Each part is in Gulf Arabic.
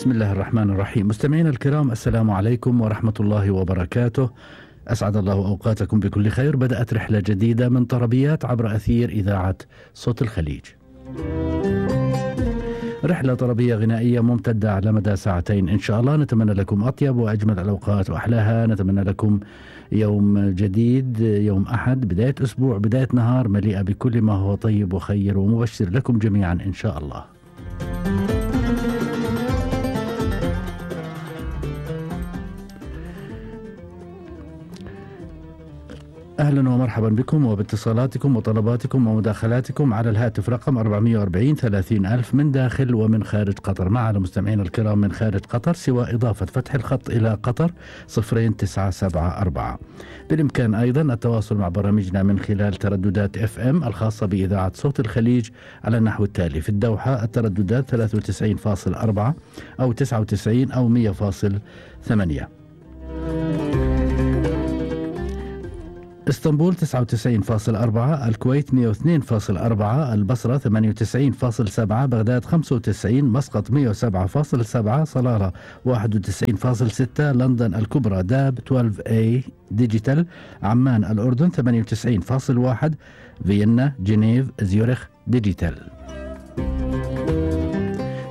بسم الله الرحمن الرحيم. مستمعينا الكرام، السلام عليكم ورحمة الله وبركاته. أسعد الله أوقاتكم بكل خير. بدأت رحلة جديدة من طربيات عبر أثير إذاعة صوت الخليج. رحلة طربية غنائية ممتدة على مدى ساعتين إن شاء الله. نتمنى لكم أطيب وأجمل الأوقات وأحلاها. نتمنى لكم يوم جديد، يوم أحد، بداية أسبوع، بداية نهار مليئة بكل ما هو طيب وخير ومبشر لكم جميعا إن شاء الله. أهلا ومرحبا بكم وباتصالاتكم وطلباتكم ومداخلاتكم على الهاتف رقم 440 30,000 من داخل ومن خارج قطر. مع المستمعين الكرام من خارج قطر سوى إضافة فتح الخط إلى قطر 0974. بالإمكان أيضا التواصل مع برامجنا من خلال ترددات FM الخاصة بإذاعة صوت الخليج على النحو التالي: في الدوحة الترددات 93.4 أو 99 أو 100.8، اسطنبول 99.4، الكويت 102.4، البصرة 98.7، بغداد 95، مسقط 107.7، صلالة 91.6، لندن الكبرى داب 12A ديجيتال، عمان الأردن 98.1، فيينا، جنيف، زيورخ ديجيتال.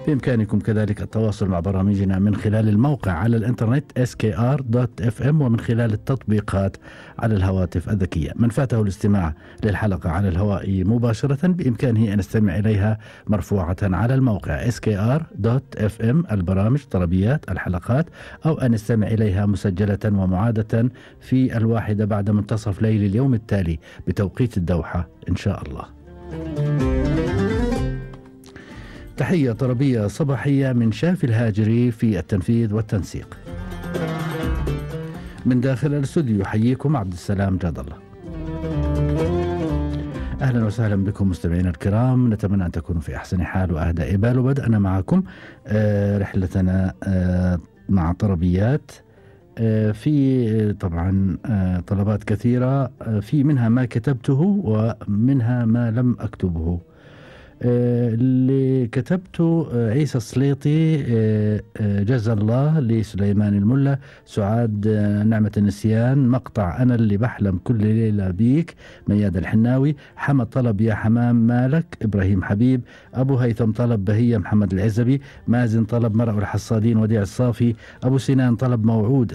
بإمكانكم كذلك التواصل مع برامجنا من خلال الموقع على الإنترنت skr.fm ومن خلال التطبيقات على الهواتف الذكية. من فاته الاستماع للحلقة على الهواء مباشرة بإمكانه أن يستمع إليها مرفوعة على الموقع skr.fm، البرامج، طربيات، الحلقات، أو أن يستمع إليها مسجلة ومعادة في 1 بعد منتصف ليل اليوم التالي بتوقيت الدوحة إن شاء الله. تحية طربية صباحية من شافي الهاجري في التنفيذ والتنسيق. من داخل الاستوديو يحييكم عبد السلام جاد الله. أهلا وسهلا بكم مستمعينا الكرام، نتمنى أن تكونوا في أحسن حال وأهدى بال. وبدأنا معكم رحلتنا مع طربيات. في طبعا طلبات كثيرة، في منها ما كتبته ومنها ما لم أكتبه. اللي كتبته عيسى السليطي، جزا الله، لسليمان الملا، سعاد نعمة النسيان، مقطع أنا اللي بحلم كل ليلة بيك، مياد الحناوي، حمد طلب يا حمام مالك، إبراهيم حبيب، أبو هيثم طلب بهية، محمد العزبي، مازن طلب مرء الحصادين، وديع الصافي، أبو سنان طلب موعود،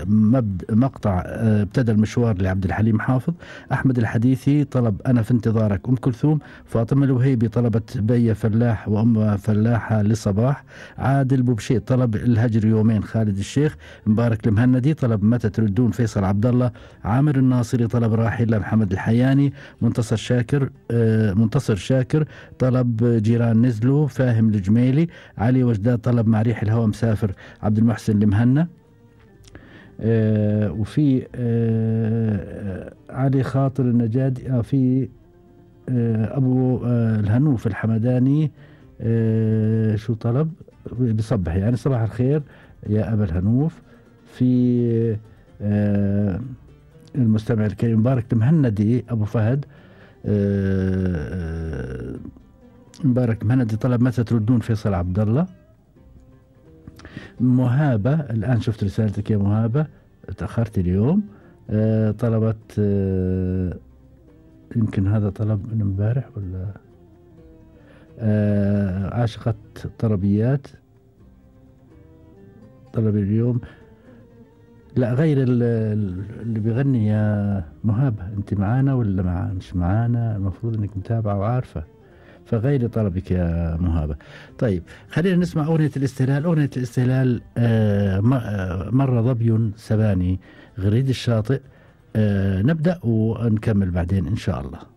مقطع ابتدى المشوار لعبد الحليم حافظ، أحمد الحديثي طلب أنا في انتظارك، أم كلثوم، فاطمة الوهيبي طلبت بي فلاح وأم فلاحة لصباح، عادل بوبشي طلب الهجر يومين، خالد الشيخ، مبارك المهندي طلب متى تردون، فيصل عبد الله، عامر الناصري طلب راحل محمد الحياني، منتصر شاكر طلب جيران نزلوا، فاهم الجميلي، علي وجداد طلب مع ريح الهوى مسافر، عبد المحسن المهنا، وفي علي خاطر النجادي، في أبو الهنوف الحمداني شو طلب، بصبح يعني صباح الخير يا أبا الهنوف. في المستمع الكريم مبارك المهندي، أبو فهد، مبارك المهندي طلب متى تردون، فيصل عبد الله. مهابة، الآن شفت رسالتك يا مهابة، تأخرت اليوم، طلبت يمكن هذا طلب من امبارح ولا عاشقة طربيات، طلب اليوم، لا غير اللي بيغني. يا مهابة انت معانا ولا مش معانا؟ المفروض انك متابعة وعارفة، فغير طلبك يا مهابة. طيب خلينا نسمع أغنية الاستهلال. أغنية الاستهلال مر ظبي سباني، غريد الشاطئ. نبدأ ونكمل بعدين إن شاء الله.